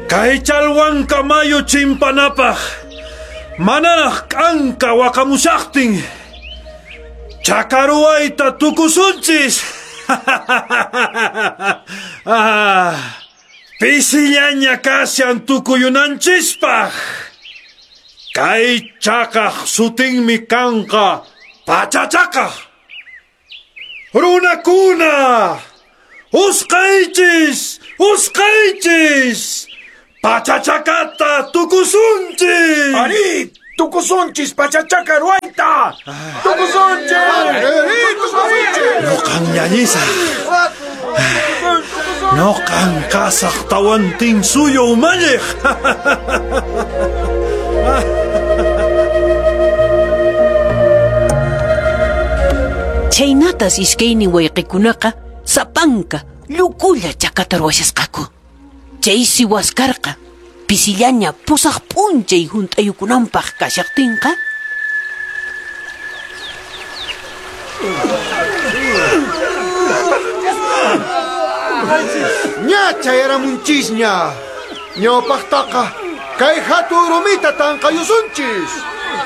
Kay Chalhuanca mayu chimpanapaq manaraq k'anka waqamushaqtin chakaruwayta tukusunchis. Pisillaña kashan tukuyunanchispaq. Kay chakaq sutinmi kanqa Pachachaka. Runakuna, usqaychis, usqaychis, Pachachakata tukusunchis. Ari, tukusunchis Pachachaka ruwayta. Tukusunchis. Ari, tukusunchis. Noqan llallisaq. Noqan kasaq Tawantinsuyu umalliq. Chhaynatas iskaynin wayqikunaqa sapanka llukulla chakata ruwashasqaku. Chaysi Waskarqa pisillaña pusaq p'unchay hunt'ayukunanpaq kashaqtinqa Ña chayaramunchisña. Ñawpaqtaqa kay hatun rumita tanqayusunchis.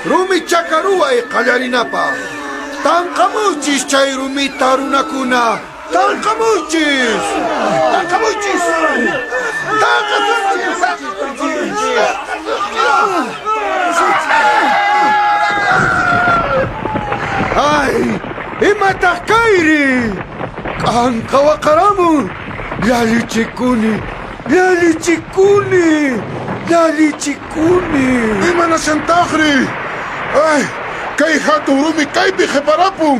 Rumi chaka ruway qallarinapaq. Tanqamuychis chay rumita runakuna. Tanqamuychis. Tanqamuychis. Tanqasunchis. Ay, imataq kayri? K'anka waqaramun. Llallichikuni, llallichikuni, llallichikuni. Imanashantaqri? Ay, kay hatun rumi kaypi qhiparapun.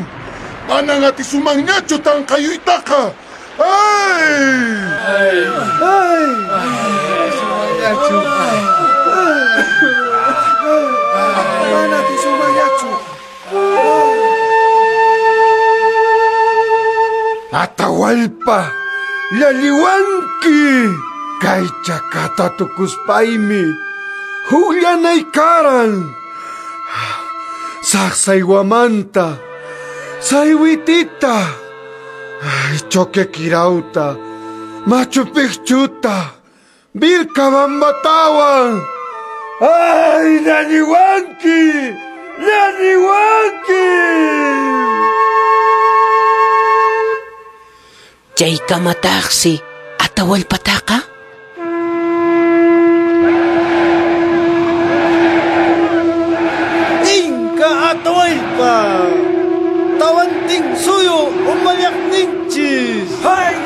Manan atisumanñachu tanqayuytaqa. Ay! Ay! Mana atisumanñachu. Atahualpa, llalliwanki. Kay chakata tukuspaymi hukllanay karan. Saqsaywamanta, saywitita, ay, Choquequirauta, Machu Picchuta, Vilcabambatawan. ¡Ay, llalliwanki! ¡Llalliwanki! Chaykamataqsi Atahualpataqa